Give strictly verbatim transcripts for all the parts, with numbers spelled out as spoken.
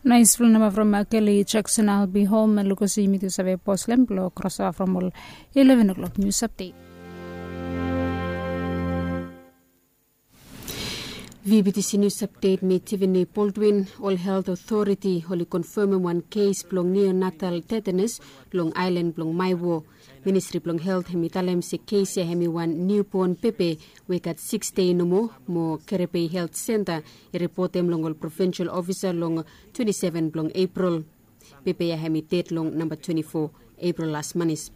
Nais fulnama from Kelly Jackson, I'll be home. Lukosi yumi tu save pos lem blo krosova from ol eleven o'clock news update. VBTC news update, mi Tiffany Baldwin. Ol health authority oli konfemem wan kes blong neonatal tetanus long aelan blong Maiwo. Ministri blong health hem i talem se kes ya hem i wan niubon pepe we i gat sikis dei nomo, mo Kerepe Health Centre i ripotem long ol provinsal ofisa long twenti seven blong Epril. Pepe ya hem i ded long namba twenti fo Epril las manis.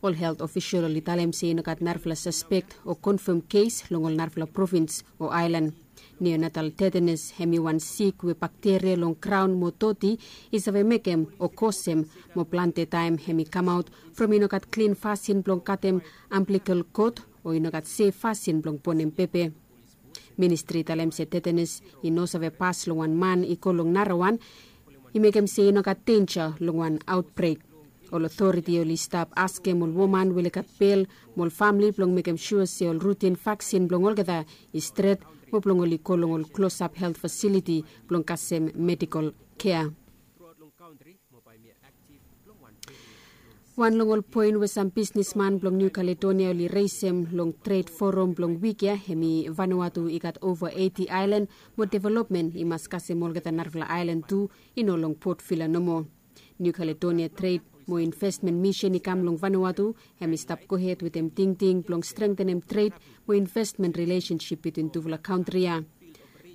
Ol health ofisal oli talem se i no gat narafala saspek o konfem kes long ol narafala provins o aelan. Neonatal tetanus hem i wan sik we bakteria long graon mo doti i save mekem o kosem, mo plante taem hem i kamaot from i no gat klin fasin blong katem amblikel kot, o i no gat sef fasin blong bonem pepe. Ministri i talem se tetanus i no save pas long wan man i go long narawan, i mekem se i no gat denja long wan aotbrek. Ol otoriti oli stap askem ol woman we oli gat bel mo ol famle blong mekem sua se ol rutin vaksin blong olgeta i stret, mo blong oli go long ol klosap health fasiliti blong kasem medikol kea. Wan long ol poen we sam bisnisman blong Niu Kaledonia oli resem long tred forum blong wik ya hem i Vanuatu i gat ova eiti aelan, mo developmen i mas kasem olgeta narafala aelan tu, i no long Port Vila nomo. Niu Kaledonia Tred mo Investmen Misen i kam long Vanuatu hem i stap gohed wetem tingting blong strengtenem tred mo investmen rilesensip bitwin tufala kantri ya.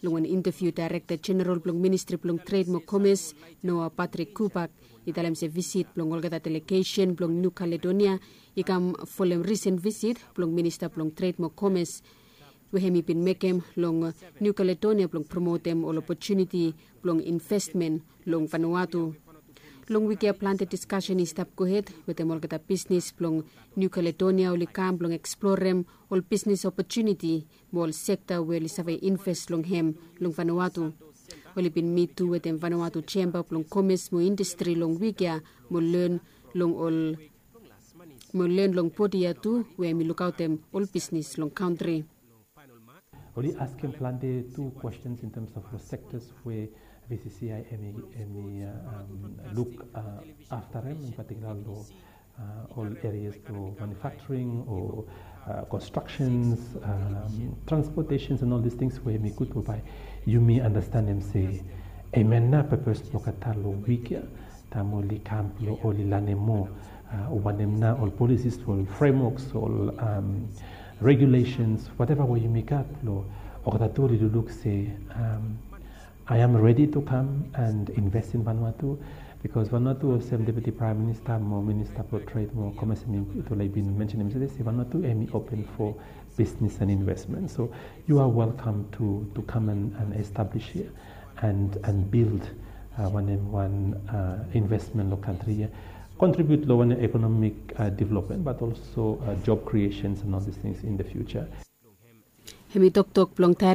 Long wan inteviu, daerekta jeneral blong ministri blong tred mo komes, Noa Patrik Kubak, i talem se visit blong olgeta delegesen blong Niu Kaledonia i kam folem risen visit blong minista blong tred mo komes we hem i bin mekem long Niu Kaledonia blong promotem ol opotuniti blong investmen long Vanuatu. Long wik ya plante diskasen i stap gohed wetem olgeta bisnis blong Niu Kaledonia oli kam blong eksplorem ol bisnis opotuniti mo ol sekta we oli save invest long hem long Vanuatu. Oli bin mit tu wetem Vanuatu Jemba blong Komes mo Indastri long wik ya mo len long ol mo len long bodi ya tu we hem i lukaotem ol bisnis long kantri. Oli askem plante tu questions in terms of the sectors where V C C I M E, M E uh, um, look uh, after them, in particular lo uh, all areas lo manufacturing or uh, constructions, um, transportations and all these things where mi good by you may understand them say, amen na purpose lo kata lo week ya. Taem oli kam blo oli lanem moa wanem nao ol policies, ol frameworks, ol regulations, whatever we yumi gat blo olgeta tu oli lukluk se I am ready to come and invest in Vanuatu, because Vanuatu olsem Deputy Prime Minister mo Minister blo Trade mo Commerce hemi tu oli bin mentionem se Vanuatu hemi open for business and investment. So you are welcome to, to come and, and establish here and, and build uh, wanem wan uh, investment lo kantri ya, contribute lo wanem economic uh, development, but also uh, job creations and all these things in the future. Hemi toktok blong